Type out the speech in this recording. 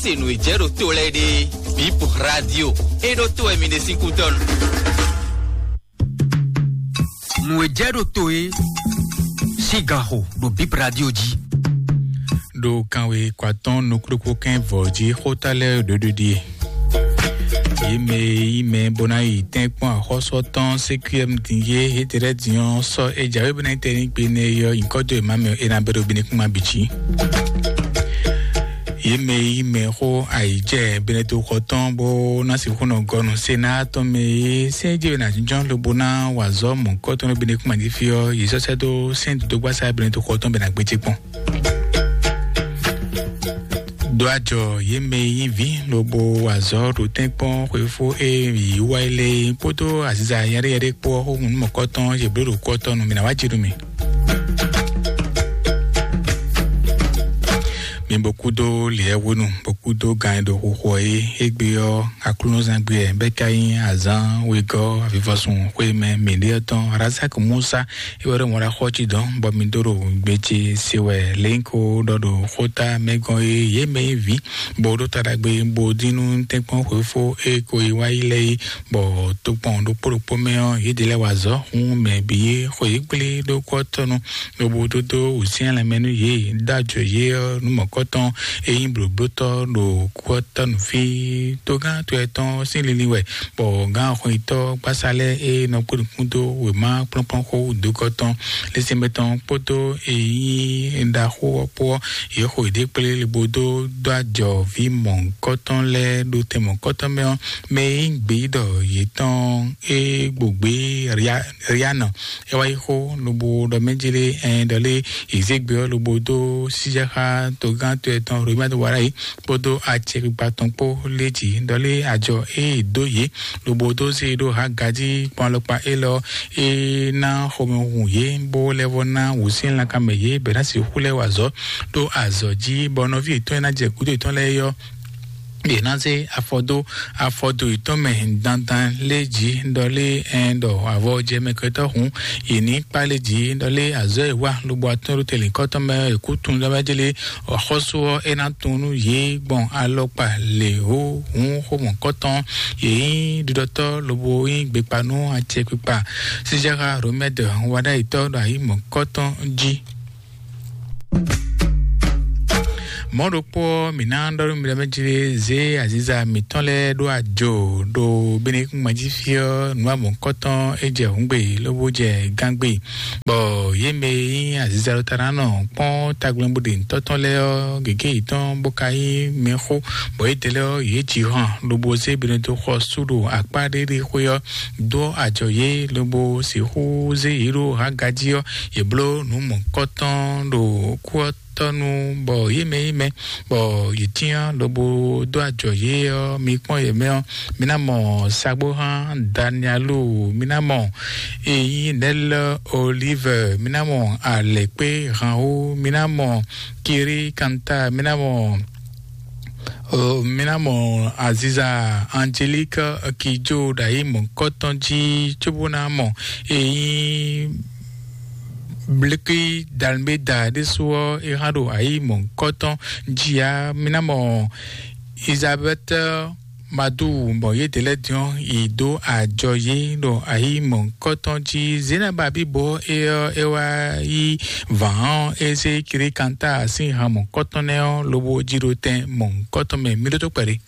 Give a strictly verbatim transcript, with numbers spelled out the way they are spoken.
Se nǔ e jɛ ɖo to lɛ́ɛ ɖe, Bip Radio, e ɖo to wɛ mi ɖe sín kútɔ́ nu. Nǔ e jɛ ɖo to e sín ganxo ɖo Bip Radio jí. Ɖo kanwe kwatɔn nukúɖokpó kɛn vɔ jí xóta lɛ́ɛ ɖoɖo ɖie. Yě mɛ e yí mɛ bó ná yi tɛ́nkpɔ́n axɔ́sú tɔn C Q M din yé étɛ́ lɛ́ɛ din ɔ́, sɔ́ é jǎwe bó ná yi tɛ́ ní gbe nɛ yɔ nyǐkɔ dó e má mɛ é ná bɛ́ ɖo binukúnma bǐ jí. Yě mɛ e yí mɛ xó ayǐjɛ Benɛto xɔ tɔn bó ná sixú nɔ gɔ́ nú Senáa tɔn mɛ é sɛ́n jɛ ná jínjɔ́n lobo ná wa azɔ̌ mɔ̌hunkɔtɔn nú Benɛkúma jí fí ɔ́, yě sɔ́ sɛ́ dó sɛ́n dodógbasá Benɛto xɔ tɔn bɛ ná gbéjé kpɔ́n. Ɖó ajɔ yě mɛ e nyí vǐ lobo wa azɔ̌ ɖo tɛ́nkpɔ́n xwefó e yǐ wá yi lé kpódó aziza yɛɖéyɛɖé kpó ɔ́ xó nú mɔ̌kɔtɔn yě bló ɖo kú ɔ́ tɔn nú mǐ ná wá jí nú mì. Mi bó kúdó lǐɛ́hwenu, bó kúdó gan e ɖo xuxu ɔ́ é. Égbé ɔ́, aklúnɔzán gbe ɛ bɛ́ ka nyí azǎn wegɔ́ avivɔsun xwé mɛ mǐɖée ɔ́ tɔn Razak Musa é wɛ ɖo mɔɖaxɔ cí dɔn bɔ mi dó ɖo gbe ce se wɛ lěnko ɖɔ ɖo xóta mɛ gɔ́n é. Yě mɛ nyí vǐ bó ɖó ta ɖagbe bó dín nú tɛ́nkpɔ́n xwefó é ko yi wá yi lɛ́ɛ é, bɔ tokpɔn ɖokpó ɖokpó mɛ ɔ́, yědɛɛ lɛ́ɛ wa azɔ̌ hún mɛ bǐ é xo yě kplé ɖó kú ɔ́ tɔn nu. Lobo dó dó wǔsyɛ́n lanmɛ nú yě, dó ajɔ yě ɔ́ nú mɔ̌kɔtɔn e nyí blǒblótɔ́ ɖo kú ɔ́ tɔ́ nú fí. Togán to yɛtɔn sín linlin wɛ, bɔ gǎn xɔnyitɔ́ gbásá lɛ́ɛ e nɔ kpó nukún dó wěma kplɔ́nkplɔ́n xó wúdúkɔ tɔn lɛ́sɛnmɛ tɔn kpódó e nyí ɖaxó ɔ́ kpó ɔ́, yě xo yěɖée kplé lobo dó dó ajɔ vǐ mɔ̌hunkɔtɔn lɛ́ɛ ɖo tɛn mɔ̌hunkɔtɔn mɛ ɔ́, mɛ e nyí gbeyíɖɔ yětɔn e gbo gbě Rianɔ é wá yi xó lobo ɖɔ mɛ jí lé ɛn ɖɔ lé yě zé gbe ɔ́ lobo dó síjɛxá togán to yɛtɔn Romɛ́ wá ɖ'ayǐ kpódó acɛkpikpa tɔn kpó lé jǐ ɖɔ lé ajɔ e è dó yě lobo dó zé ɖó Haga jí kpɔ́n alɔkpa élɔ́ é ná xomɛ hun yě bó lɛ́ vɔ ná wǔsyɛ́n lankanmɛ yě bɛ ná sixú lɛ́ wa azɔ̌ ɖó azɔ̌ jí bɔ nɔví yětɔn e ná jɛ gǔdo yětɔn lɛ́ɛ é ɔ́, yě ná zé afɔ dó afɔdo yětɔn mɛ dandan lé jǐ ɖɔ lé ɛn ɖɔ avɔ jɛ mɛ kɛtɔ́ hǔn yě ní kpá lé jǐ ɖɔ lé azɔ̌ e wa lobo atɔ́n ɖo tɛlǐnkɔ́tɔn mɛ ɔ́, è kú tunwun ɖɔ mɛ jélé axɔ́sú ɔ́ é ná tunwun nú yě gbɔn alɔkpa lě hó hǔn xó mɔ̌kɔtɔn. Yě nyí ɖiɖɔtɔ́ lobo nyí gbekpa nú acɛkpikpa sísɛ́xá Romɛ́dɛ wáɖáyitɔ́ ɖo ayǐ mɔ̌kɔtɔn jí. Mɔ̌ ɖokpó ɔ́, mǐ ná ɖɔ nú mi ɖɔ mɛ jí zé aziza mǐtɔn lɛ́ɛ ɖó ajo ɖo Benɛkúngbán jí fí ɔ́, nǔ amɔ̌kɔ́tɔn é jɛ hǔngbe lobo jɛ gángbe, bɔ yě mɛ e nyí aziza ɖo ta ná nɔ kpɔ́n tagblénbodě tɔ́tɔ́n lɛ́ɛ ɔ́, gěgé yětɔn bó ka nyí mɛxó, bɔ yědɛɛ lɛ́ɛ ɔ́, yě ji han lobo zé Benɛto xɔ sú ɖo akpá ɖé ɖé xwé ɔ́, dó ajɔ yě lobo sixú zé yě ɖó Haga jí ɔ́, yě bló nǔ mɔ̌kɔtɔn ɖo kú ɔ́ tɔ́ nu, bɔ yě mɛ yí mɛ, bɔ yě cyán lobo dó ajɔ yě ɔ́, mi kpɔ́n yě mɛ ɔ́, mi ná mɔ sagbóhán Danielu, mi ná mɔ eyi Nɛlɛ Olive, mi ná mɔ Alɛkpé Hanwu, mi ná mɔ Kiri Kanta, mi ná mɔ o, mi ná mɔ Aziza Angélique Kidjo ɖo ayǐ mɔ̌kɔtɔn jí cóbó ná mɔ eyi Bliki Dalmeda ɖésú ɔ́, é hã ɖo ayǐ mɔ̌kɔtɔn jí ǎ. Mi ná mɔ Elizabeth Madu, bɔ yědɛɛ lɛ́ɛ din ɔ́, yi dó ajɔ yě ɖo ayǐ mɔ̌kɔtɔn jí. Zenaba bíbo é ɔ́, é wá yí vǎn ɔ́, é zé Kiri Kanta sín han mɔ̌kɔtɔn nɛ́ ɔ́, lobo jí ɖó tɛn mɔ̌kɔtɔn mɛ. Mi ɖótó kpɛɖé.